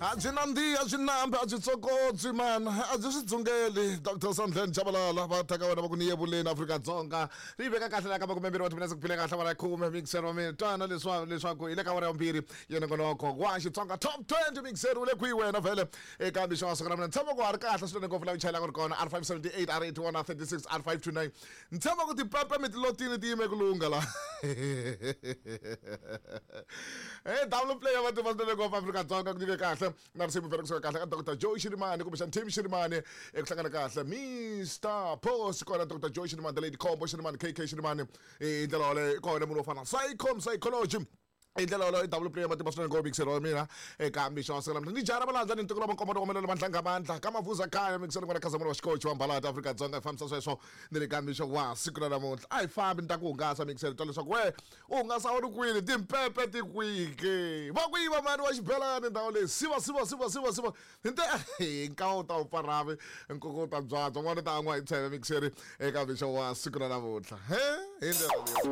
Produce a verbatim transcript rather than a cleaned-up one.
A byi nandzihi, a byi nambi, a byi tsokotsi man, a byi swi dzungeli. Doctor Sandlen Chabalala va ta ka wena va ku ni yevuleni Afrika-Dzonga ri veka kahle la ka makumembirhi wa timinetse ku phile kahle awara ya khume. Mixer wa mina, twana leswa leswaku hi le ka awara ya vumbirhi yena ngonoko wa Xitsonga Top twenty. Mixer u le kwihi wena vhele eka mixo wa siku ra mina? Ni tshemba ku ha ri kahle swinene ngopfu la u chayelaka ri kona R five seventy-eight, R eighty-one, R thirty-six, R five two nine. Ni tshemba ku tipepe mi tilotini ti yime ku lungha la. Hey, double play ya matimba swinene ngopfu Afrika-Dzonga, ku nyike kahle na risimu vhele kusuka kahle ka Doctor Joe Shirimani kumbexana Tim Shirimani eku hlangana kahle Mister Post kona Doctor Joe Shirimani, the Lady Combo Shirimani, K K Shirimani hi ndlela yoleyo kona munhu wo fana Psychom Psychology hi ndlela yoleyo. I double play ya matimba swinene ngopfu mixero wa mina eka mixo wa siku namuntlha. Ni jara malandza ni ntikelo makombo to komelela mandla nga ka mavuza kaya mixero n'wana Khazamulo wa xikochi wa Mbalati Afrika-Dzonga hi fambisa sweswo ni le ka mixo wa siku ra namuntlha. A hi fambi, ni ta ku hungasa mixero, twa leswaku we u hungasa u ri kwini, timpepe ti kwihi, va ku yiva mani wa xibelani ndhawu leyi. Siva siva siva siva siva nte nkawa wu ta wu pfaravi nkuku wu ta byabya n'wana u ta an'wa hi tsheve mixeri eka mixo wa siku ra namuntlha he hi ndlela leyi.